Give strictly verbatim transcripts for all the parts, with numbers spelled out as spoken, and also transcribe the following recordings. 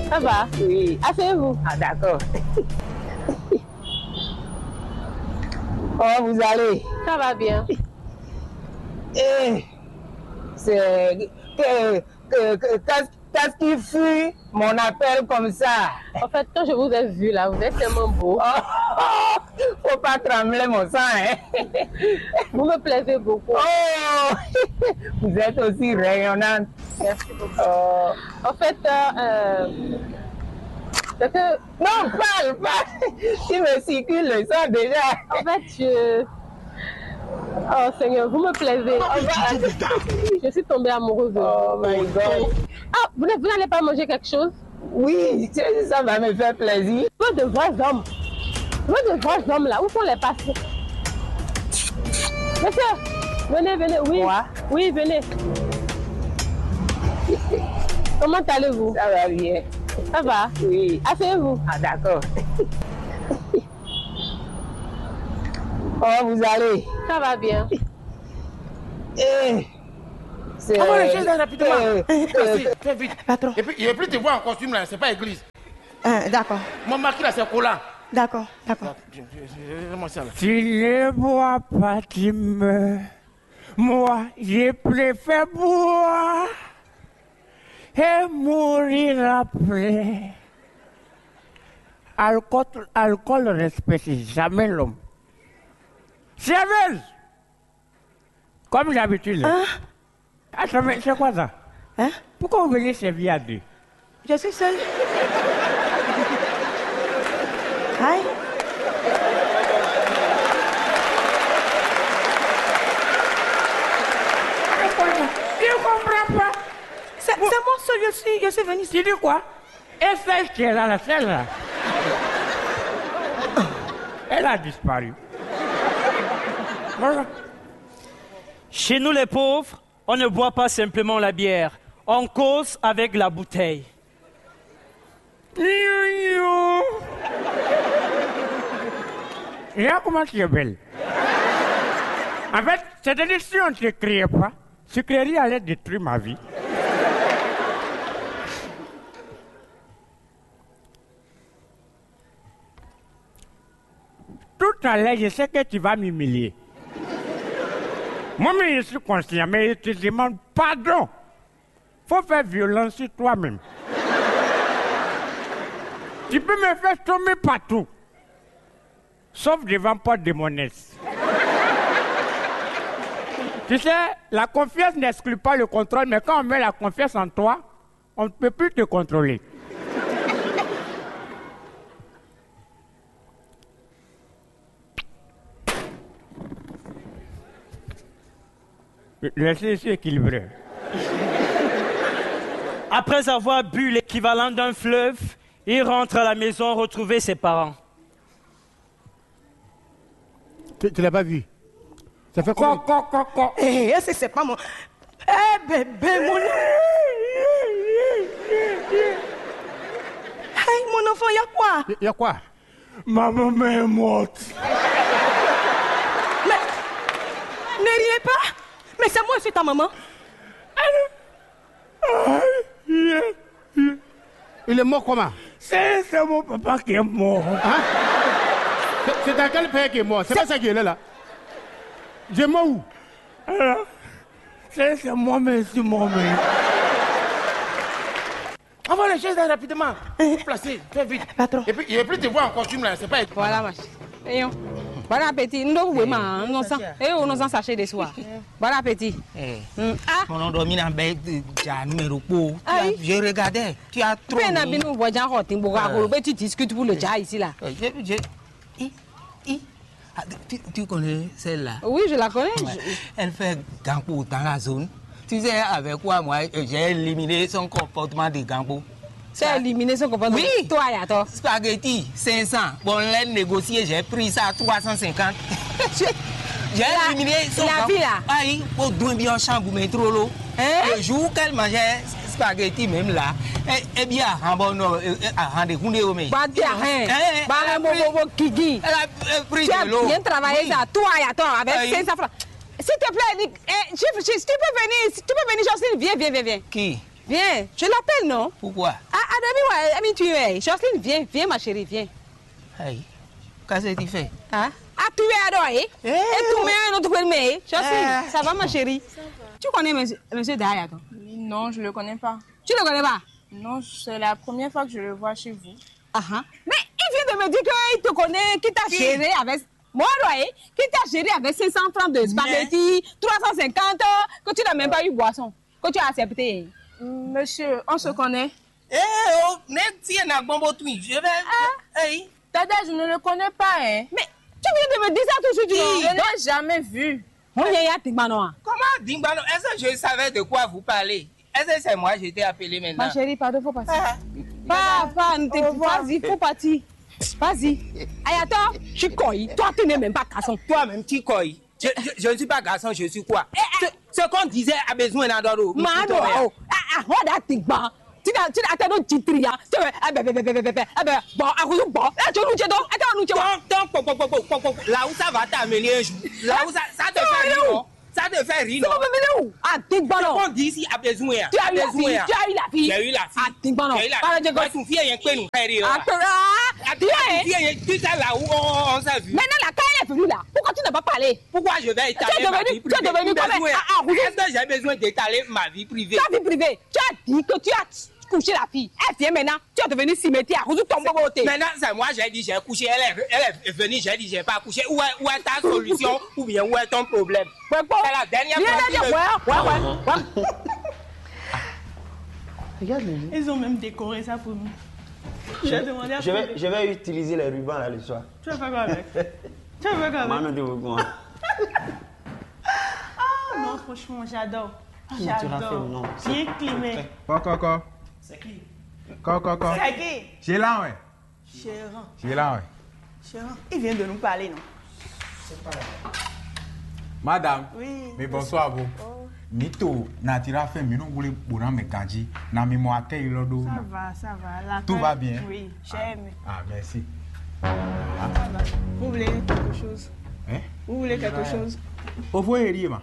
Ça va? Oui. Asseyez-vous. Ah, d'accord. Comment vous allez? Ça va bien. Eh, c'est que, que, que, qu'est-ce qu'est-ce qui fut mon appel comme ça? En fait, quand je vous ai vu là, vous êtes tellement beau. Oh, faut pas trembler mon sang, hein? Vous me plaisez beaucoup. Oh, vous êtes aussi rayonnante. Merci beaucoup. Oh. En fait, euh, euh, c'est que... Non, parle, parle. Tu me circules le sang déjà. En fait, je... Oh Seigneur, vous me plaisez. Je suis tombée amoureuse de vous. Oh my God. Ah, vous ne- vous n'allez pas manger quelque chose? Oui, ça va me faire plaisir. Je veux de vrais hommes. Je veux de vrais hommes là. Où sont les patients? Monsieur, venez, venez. Oui. Moi? Oui, venez. Comment allez-vous? Ça va bien. Ça va? Oui. Asseyez-vous. Ah, d'accord. Comment vous allez? Ça va bien. Eh, c'est... Envoie les choses là rapidement. Eh, eh, fais vite. Patron. Et puis, et puis, tu vois en costume là, c'est pas église. Euh, d'accord. Mon mari là, c'est Cola. D'accord, d'accord. Donne-moi ça là. Tu ne bois pas, tu meurs. Moi, je préfère boire et mourir après. Alcool, alcool ne respecte jamais l'homme. Serveuse! Comme d'habitude. Hein? Attends, mais c'est quoi ça? Hein? Pourquoi vous venez servir à deux? Je suis seule. Aïe. C'est quoi ça? Je comprends pas. C'est c'est moi seule, je suis, je suis venue. Tu dis quoi? Et celle qui est là, là, celle-là, elle a disparu. Voilà. Chez nous les pauvres, on ne boit pas simplement la bière, on cause avec la bouteille. Regarde comment tu es belle. En fait, c'est-à-dire, si on ne te criait pas, tu créerais allait détruire ma vie. Tout à l'heure, je sais que tu vas m'humilier. Moi-même, je suis conscient, mais je te demande pardon. Faut faire violence sur toi-même. Tu peux me faire tomber partout, sauf devant porte de mon ex. Tu sais, la confiance n'exclut pas le contrôle, mais quand on met la confiance en toi, on ne peut plus te contrôler. Laissez ici équilibré. Après avoir bu l'équivalent d'un fleuve, il rentre à la maison retrouver ses parents. Tu, tu l'as pas vu? Ça fait quoi? Quoi, quoi, quoi, quoi? Eh, c'est c'est pas mon... Eh, bébé, mon... Hey, mon enfant, y a quoi? Y a quoi? Ma maman est morte. Mais ne riez pas. Mais c'est moi, c'est ta maman. Il est mort comment? C'est c'est mon papa qui est mort. Hein? C'est c'est dans quel pays qui est mort? C'est pas ça qui est là, là. J'ai mort où? Alors, c'est c'est moi-même, c'est moi-même. Envoie les choses là rapidement. Placez, fais vite. Patron. Et puis, et puis, tu vois en costume là, c'est pas... Voilà, ma chérie. Bon appétit. Nous devons vraiment, nous sommes... Et on nous en sachet de soir. Bon appétit. Eh. Hmm. Ah. Mon nom domine en bête, déjà numéro pour. Aïe. Je regardais. Tu as trop... Peine à mis. Bien, nous voyons quand on... Bora, tu discutes pour le déjà ici là. Eh, je, je, i, i. Ah, tu, tu connais celle-là? Oui, je la connais. Ouais. Je... Elle fait Gampo dans la zone. Tu sais avec quoi, moi, j'ai éliminé son comportement de Gampo? T'as éliminé son comportement? Oui. Toi, et à toi. Spaghetti, cinq cents. Bon, on l'a négocié, j'ai pris ça à trois cent cinquante. J'ai éliminé son... La vie là. Aïe, au début, en chambre, mais trop l'eau. Hein? Le jour qu'elle mangeait spaghetti même là, eh, eh bien, ah, bon, non, eh, eh, ah, rendez-vous, mais... Bah, t'es rien. Hein? Bah, elle a pris, bon, bon, Kiki. Elle a, euh, pris de l'eau. Tu as bien travaillé. Oui. Ça, toi, et à toi, avec... Aïe. Cinq cents francs. S'il te plaît, Nick, eh, chief, chief, tu peux venir, tu peux venir, Jocelyne, viens, viens, viens, viens. Qui? Viens, je l'appelle, non? Pourquoi? Ah, ah, David, ouais, ami, tu es. Jocelyne, viens, viens, ma chérie, viens. Aïe, qu'est-ce que tu fais? Ah, ah, tu es alors, eh? Eh, et tu oh. Mets un autre peu, mais, Jocelyne, eh. Ça va, ma chérie? Ça va. Tu connais monsieur, monsieur Daya, toi? Non, je le connais pas. Tu le connais pas? Non, c'est la première fois que je le vois chez vous. Ah, ah. Mais il vient de me dire qu'il te connaît, qu'il t'a géré avec, moi, ouais, qu'il t'a géré avec cinq cents francs de spaghettis, trois cent cinquante, que tu n'as même pas eu boisson, que tu as accepté. Monsieur, on se connaît. Eh, oh, même si elle n'a pas bon truc, je vais. Ah. Hey. Dada, je ne le connais pas, hein. Mais tu viens de me dire ça tout de suite, non? Je ne l'ai jamais vu. Mon yaya, t'es malin. Comment Dingbano? Est-ce que je savais de quoi vous parlez? Est-ce que c'est moi, je t'ai appelé maintenant? Ma chérie, pardon, faut partir. Ah. Pas, pas, ne te, vas-y, faut partir. Vas-y. Ayato, tu koi. Toi, tu n'es même pas garçon. Toi-même, tu koi. Je, je, je ne suis pas garçon, je suis quoi? Ce, ce qu'on disait a besoin d'adoro. Mado, oh. Ah, ah, what that thing, ba? Tu n'as, tu n'as, attends, non, tu tria. Tu veux, ah, ben, ben, ben, ben, ben, ben, ah, ben, bon, ah, oui, bon. Eh, tu nous dis donc, attends, nous dis donc. Ton, ton, po, po, po, po, po, po, po. Là où ça va t'amener un jour. Là où ça, ça te fait rire, non? Ça te fait rire, non? C'est pas venu où? Ah, t'es bon, non? Ce qu'on dit ici a besoin. Tu as eu la fille, tu as eu la fille. J'ai eu la fille. Ah, t'es bon, non? J'ai eu la fille. Pas de gosse. Ton fille est un peu nous faire rire. Ah, ah, tu es. Ton fille est tout ça là où on, on s'est vu. Maintenant, là, quand elle est venue là, pourquoi tu n'as pas parlé? Pourquoi je vais étaler ma vie privée? Tu es devenu, tu es devenu comme un, ah, ah, vous êtes. Est-ce que j'ai besoin d'étaler ma vie privée? Ta vie privée. Tu as dit que tu as couché la fille. Elle vient maintenant. Tu es devenu cimetière. Vous tombez au thé. Maintenant, c'est moi, j'ai dit, j'ai couché. Elle est, elle est venue, j'ai dit, j'ai pas couché. Où est, où est ta solution? Ou bien, où est ton problème? Ouais, bon. C'est la dernière fois que je ouais, ouais, ouais, ouais. Regarde les yeux. Ils ont même décoré ça pour nous. Je, je vais, je vais utiliser les rubans là le soir. Tu vas faire quoi avec? Tu vas faire quoi avec? Maman, tu veux quoi? Ah non, franchement, j'adore. Ah, non, tu vas faire, j'adore. Non, c'est bien climé. Kɔkɔkɔ. C'est qui? Kɔkɔkɔ. C'est qui? J'ai là, ouais. Gérant. J'ai là, ouais. Gérant. Il vient de nous parler, non? C'est pas là. Madame. Oui, mais bonsoir, vous. Oh. Mito, natira fait, mais nous voulons pour un mécanique. Na mi mo accueil là. Ça va, ça va. Tout va bien? Oui, j'aime. Ah, merci. Ça va. Vous voulez quelque chose? Hein? Vous voulez quelque chose? Ovo eri ma.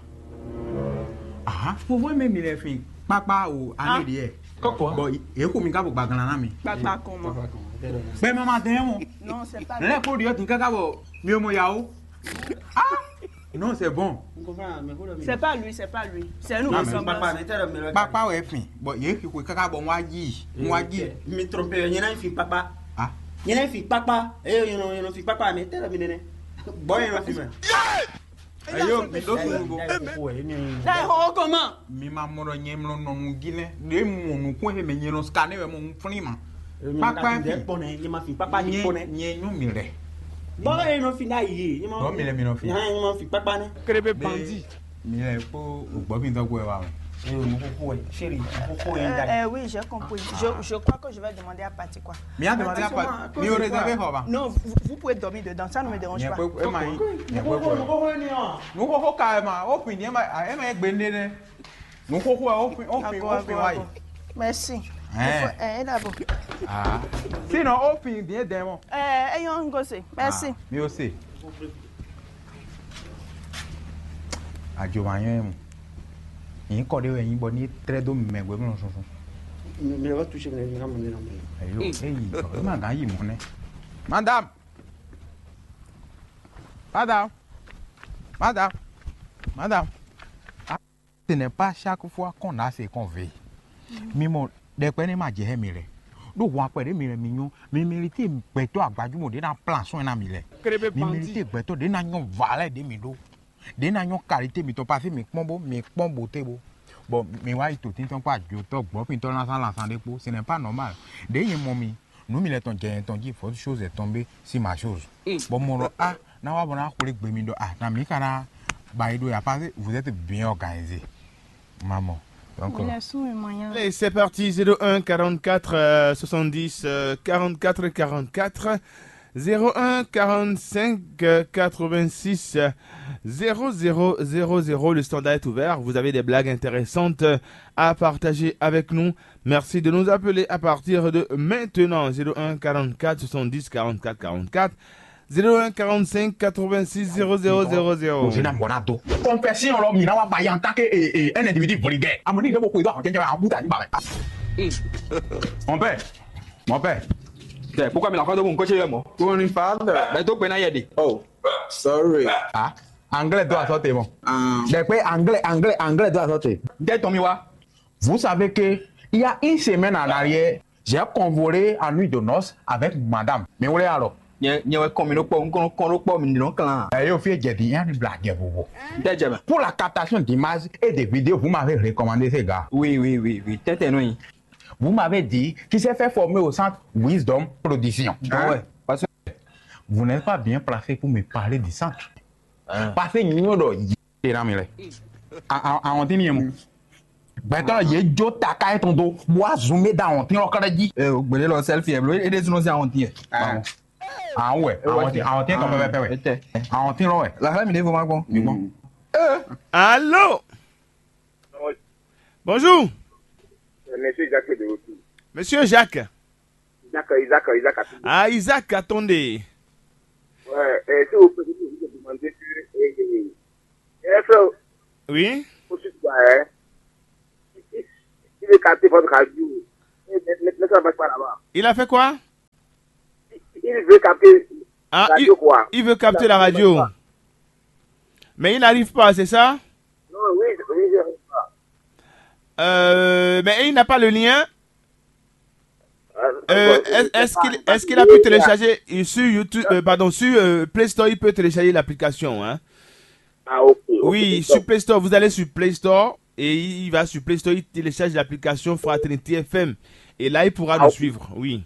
Ah, ovo mɛ mi lɛ fi kpakpa o, ane ɖiɛ. Kɔkɔ. Bon, e ko mi ka bo gbaglan na mi. Papa comment? Bɛ mama dɛn mo. Non, c'est pas lui. Lɛ ko diɔ tin kaka bɔ mi o mo ya o. Ah, non, c'est bon. C'est pas lui, c'est pas lui. C'est nous qui sommes là. Papa wɛ fin. Bon, ye fi ko kaka bɔ wa yi. Wa yi. Mi trompe, nyɛ na fi papa. Ah. Nyɛ na fi papa. Eh, nyɛ no, nyɛ no fi papa, mais tell me nene. Bon, nyɛ no fi ma. Ayo, mi ɖo sunugo. Ɛ, ho kɔma. Mi ma mɔ ɖɔ nyɛ mlɔ nɔnu jí nɛ. Ɖe mu nukun he mɛ nyɛ nɔ scanner wɛ mo un flin ma. Kpakpa fi. Kpɔnɛ, nyɛ ma fi kpakpa ni kpɔnɛ. Nyɛ nyɔ mi lɛ. Bɔ e nɔ fi na yi. Bɔ mi lɛ mi nɔ fi. Nyɛ ma fi kpakpa nɛ. Kéré bɛ bandit. Mi lɛ kpo gbɔ mi dɔ gbɔ wa. Ayo, nukoko wɛ, chérie, nukoko wɛ da. Euh, oui, j'ai compris. Je, je crois que je vais demander à Patty quoi. Mi a demandé à Patty. Mi o réservé kɔ ba. Non, vous, vous pouvez dormir dedans, ça ne me dérange pas. Nyɛ kpekpe ema yi. Nyɛ kpekpe. Nukoko ka ema o fin ni ema ema egbe nde nɛ. Nukoko o fin o fin o fin wa yi. Merci. Hein. Eh, d'abord. Ah. Sinon o fin bien demo. Eh, ayons ngose. Merci. Mi o se. Ajo ma nyɔ emu. Yin kɔ de wɛ yin bɔ ni trɛ do mɛ gbe mlɔ sunsun. Mi va toucher mi na mo ne na mo. Ayo, eyi, e ma gan yi mɔ nɛ. Madame. Madame. Madame. Madame. Ah, ce n'est pas chaque fois qu'on a ce qu'on veut. Mi mɔ ɖɛkpɛ ne ma jɛ hɛ mi lɛ. Ɖo hwan kpɛ ɖe mi lɛ mi nyɔ. Mi mérité gbɛtɔ agbajumɔ ɖe na plan soin na mi lɛ. Mi mérité gbɛtɔ ɖe na nyɔ valɛ ɖe mi ɖo. Ɖe na nyɔ qualité mitɔn parce que mi kpɔn bo, mi kpɔn bo te bo. Bon, mi wa yi to tintɔn kpɔ ajotɔ gbɔ mitɔn na sa la sa ɖe kpo. Ce n'est pas normal. Ɖe ye mɔ mi. Nǔ mi lɛ tɔn jɛ yɛn tɔn jí, fɔ chose est tombée sur ma chose. Bɔ mɔ ɖɔ a na wa bɔ na xwlé gbe mi ɖɔ a na mi ka na ba yi ɖo ya parce que vous êtes bien organisé. Maman. Donc, il a su et moyen. Allez, c'est parti, zéro un quarante-quatre, euh, soixante-dix, euh, quarante-quatre quarante-quatre, zéro un quarante-cinq, euh, quatre-vingt-six, euh, zéro zéro zéro zéro. Le standard est ouvert. Vous avez des blagues intéressantes, euh, à partager avec nous. Merci de nous appeler à partir de maintenant, zéro un quarante-quatre soixante-dix quarante-quatre quarante-quatre. Zéro un quarante-cinq quatre-vingt-six zéro zéro zéro zéro. Confession lɔ mi na wa ba yan ta ke e e un individu vulgaire. Amoni de mo ko do àwọn jẹjẹrẹ àwọn buta ni ba. Mon père, mon père. Pourquoi me la ko do mon coche mo? Ko ni father. Ben to pe na yede. Oh, sorry. Ah, anglais do assorte mo. Ah. De pe anglais, anglais, anglais do assorte. De to mi wa. Vous savez que il y a une semaine en arrière, j'ai convolé en nuit de noces avec madame. Mais où est alors? Nyɛ nyɛ wɛ kɔn mi ɖó kpɔ, un kɔn kɔn ɖó kpɔ mi ɖó kan. Eh, yo, fie jɛ di, yan ni bla jɛ vovo. N tɛ jɛ mɛ. Pour la captation d'images et des vidéos, vous m'avez recommandé ce gars. Oui, oui, oui, oui. Tɛtɛ nɔ yi. Vous m'avez dit qu'il s'est fait former au centre Wisdom Production. Bon, ouais. Parce que vous n'êtes pas bien placé pour me parler du centre. Hein? Parce que nous, on doit y aller dans mes lèvres. Ah, ah, ah, on dit, Gbɛtɔ́ yě jó taká yětɔn dó, bó wá zun mɛ dó awɔntín ɔ́ kɛ́ɖɛ́ jí. Ee, o gběɖé lɔ sɛ́lfí ɛ bló, é ɖésú nɔ sín awɔntín ɛ. Ah, wɛ, awɔntín, awɔntín kan pɛpɛpɛ wɛ. Etɛ. Awɔntín lɔ wɛ. La fɛn mi ɖěvo ma gbɔn. Mi gbɔn. Allô? Bonjour. Monsieur Jacques de retour. Monsieur Jacques. Isaac, Isaac, Isaac Atunde. Ah, Isaac, attendez. Ouais, euh, si vous permettez, je vais vous demander que, euh, euh, frère, oui. Au sud, quoi, hein, il, il, il veut capter votre radio. Mais, mais, mais ça ne marche pas là-bas. Il a fait quoi? Il, il veut capter ah, radio, il, quoi. Il veut capter la radio. Mais il n'arrive pas, c'est ça? Non, oui, oui, je n'arrive pas. Euh, mais il n'a pas le lien. Euh, est-ce qu'il est-ce qu'il a pu télécharger sur YouTube, euh, pardon, sur euh, Play Store, il peut télécharger l'application, hein? Ah, ok. Ok, oui, sur Play Store, vous allez sur Play Store et il va sur Play Store, il télécharge l'application Fraternité F M. Et là, il pourra nous suivre, oui.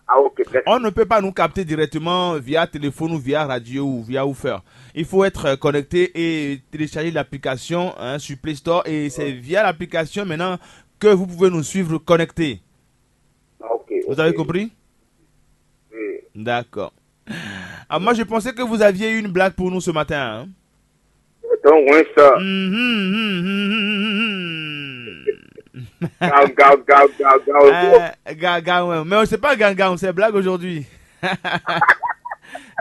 Ah, ok, d'accord. On ne peut pas nous capter directement via téléphone ou via radio ou via woofer. Il faut être euh, connecté et télécharger l'application, hein, sur Play Store. Et c'est via l'application maintenant que vous pouvez nous suivre connecté. Ah, ok, vous avez compris? Oui. D'accord. Ah, moi, je pensais que vous aviez une blague pour nous ce matin, hein. Donc, oui, ça. Mhm, mhm, mhm, mhm, mhm. Gao, gao, gao, gao, gao. Euh, ga, ga, ouais. Mais c'est pas gangam, c'est blague aujourd'hui.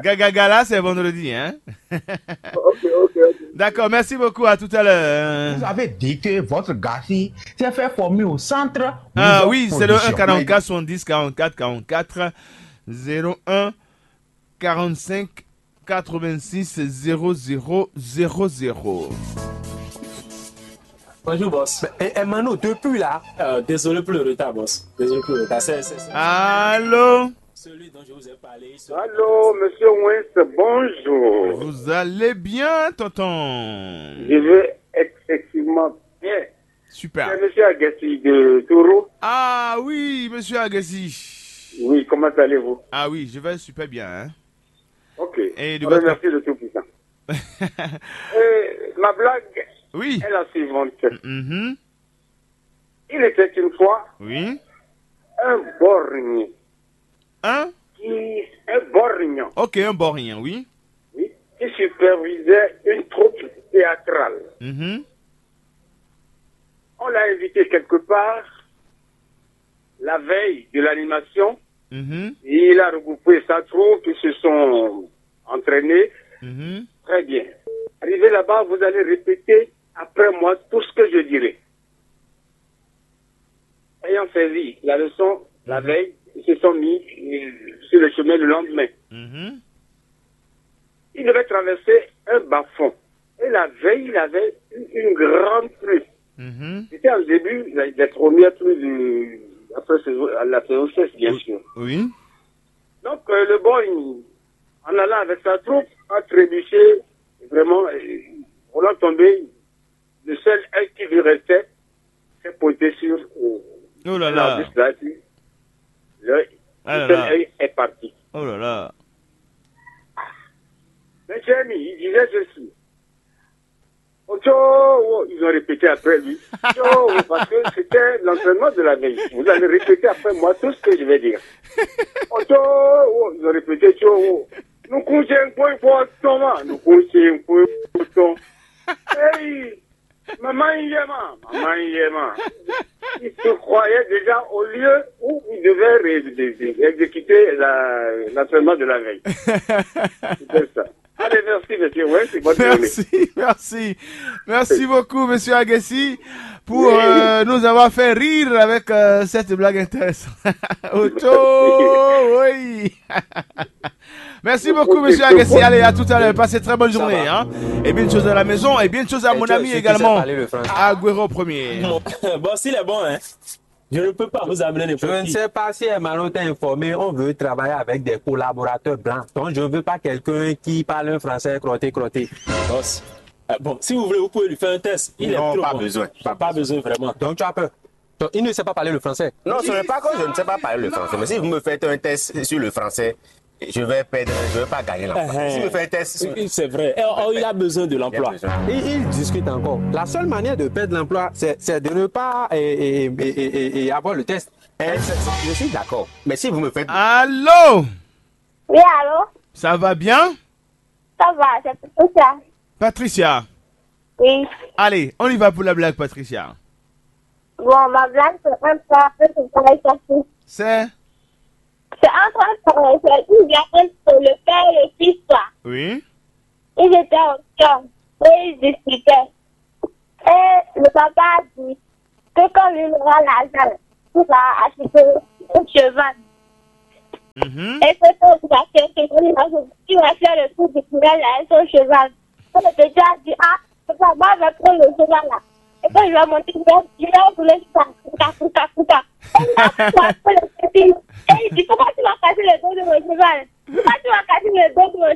Ga, ga, ga, là, c'est vendredi, hein. Ok, ok, ok. D'accord, merci beaucoup, à tout à l'heure. Vous avez dit que votre gars s'est fait former au centre. Ah oui, c'est le un quarante-quatre soixante-dix quarante-quatre quarante-quatre, zéro un quarante-cinq quatre-vingt-six zéro zéro zéro zéro. Bonjour, boss. Eh, eh, Mano, depuis là. Euh, désolé pour le retard, boss. Désolé pour le retard. C'est, c'est, c'est... Allô? Celui dont je vous ai parlé, il se... Allô, monsieur Wins, bonjour. Vous allez bien, tonton? Je vais excessivement bien. Super. C'est monsieur Agassi de Toro. Ah oui, monsieur Agassi. Oui, comment allez-vous? Ah oui, je vais super bien, hein. Ok. Et de votre... Remercie le Tout-Puissant. Euh, ma blague oui. Est la suivante. Mhm. Il était une fois oui. Un borgne. Un? Qui, un borgne. Ok, un borgne, oui. Oui, qui supervisait une troupe théâtrale. Mhm. On l'a invité quelque part la veille de l'animation. Mhm. Il a regroupé sa troupe, ils se sont entraînés. Mhm. Très bien. Arrivé là-bas, vous allez répéter après moi tout ce que je dirai. Ayant saisi la leçon la veille, ils se sont mis euh, sur le chemin le lendemain. Mhm. Il devait traverser un bas-fond. Et la veille, il avait eu une grande pluie. Mhm. C'était en début, la, la première pluie du, après saison, la saison sèche, bien sûr. Oui. Donc, euh, le boy, en allant avec sa troupe, a trébuché, vraiment, euh, voulant tomber, le seul œil qui lui restait s'est posé sur euh, oh là là. L'arbuste là, puis le, ah le seul œil est parti. Oh là là. Mais Jérémie, il disait ceci. Ocho, oh, ils ont répété après lui. Ocho, oh, parce que c'était l'entraînement de la veille. Vous allez répéter après moi tout ce que je vais dire. Ocho, oh, ils ont répété, Ocho, oh. Nous couchons un peu pour tomber. Nous couchons un peu pour tomber. Hey, maman, il y a ma. Maman, il y a ma. Il se croyait déjà au lieu où il devait ré- ré- ré- exécuter la- l'entraînement de la veille. C'était ça. Allez, merci, monsieur. Ouais, c'est bonne journée. Merci, merci. Merci beaucoup, monsieur Agassi, pour euh, nous avoir fait rire avec euh, cette blague intéressante. Ocho, oui. Merci beaucoup, monsieur Agassi. Allez, à tout à l'heure. Passez très bonne journée. Hein. Et bien de choses à la maison. Et bien de choses à mon ami également. Agüero premier. Bon, bon, s'il est bon, hein, je ne peux pas vous amener Je ne n'importe qui. sais pas si Emmanuel t'a informé, on veut travailler avec des collaborateurs blancs. Donc, je ne veux pas quelqu'un qui parle un français crotté, crotté. Bon, c'est- euh, bon, si vous voulez, vous pouvez lui faire un test. Il Non, est trop pas bon. besoin. Pas besoin vraiment. Donc, tu as peur. Donc, il ne sait pas parler le français. Non, ce n'est pas que je ne sais pas parler le français, mais si vous me faites un test sur le français, je vais perdre, je vais pas gagner l'emploi. Uh-huh. Si vous me faites un test sur... Oui, c'est vrai. Et, oh, il a besoin de Il y a l'emploi. besoin. Ils, ils discutent encore. La seule manière de perdre l'emploi, c'est c'est de ne pas euh, euh, euh, euh, euh, avoir le test. Eh, c'est- c'est- je suis d'accord. Mais si vous me faites... Allô, Oui, allô? Ça va bien? Ça va, c'est tout ça. Patricia, Oui. Allez, on y va pour la blague, Patricia. Bon, ma blague, c'est un peu, un peu, c'est pas facile. C'est C'est un peu, c'est une blague entre le père et le fils, quoi. Oui. Ils étaient ensemble et ils discutaient. Et le papa a dit que quand lui aura l'argent, il va acheter un cheval. Mhm. Et que quand il va faire, que quand il va, il va faire le tour du village avec son cheval. Quand le petit a dit, ah, papa, moi, je vais prendre le cheval là. Et quand je vais monter, je vais, je vais rouler ça. Kouka, kouka, kouka. Et il a frappé le petit. Et il dit, pourquoi tu m'as cassé le dos de mon cheval? Pourquoi tu m'as cassé le dos de mon